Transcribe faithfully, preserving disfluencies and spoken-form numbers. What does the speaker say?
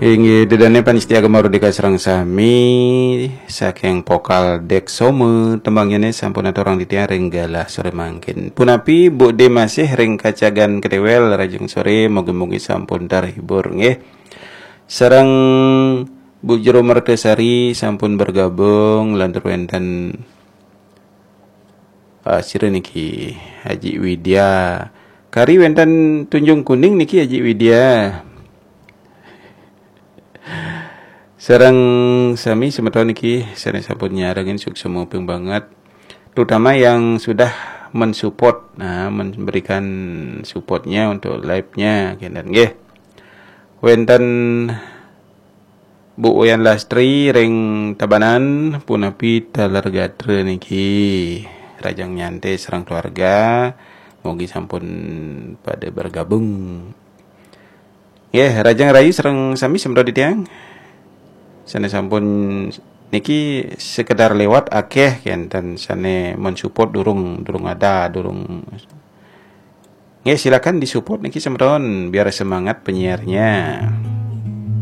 Inggih, ida dané pamiarsa Gema Merdeka sareng sami, saking Pokal Dek Soma, tembangnyané sampun aturang titiang ring galah soré mangkin. Punapi, Bu Dé masih ring Kacagan Ketiwel, rahajeng soré, mugi-mugi sampun terhibur, nggih. Sareng Bu Jero Mertasari sampun bergabung, lantur wénten, ah, sira niki, Haji Widya. Kari wénten Tanjung Kuning niki, Haji Widya. Sareng sami semeton niki sané sampun nyarengin, suksma banget. Terutama yang sudah mensupport, nah, memberikan supportnya untuk live-nya, kénten nggih. Wénten Bu Wayan Lastri ring Tabanan, punapi taler gatra niki. Rahajeng nyantai sareng keluarga, mugi sampun pada bergabung. Nggih, rahajeng rahayu sareng sami semeton titiang. Sané sampun niki sekedar lewat, akéh kénten sané mensupport, durung, durung ada, durung. Nggih, silakan disupport niki semeton biar semangat penyiarnya.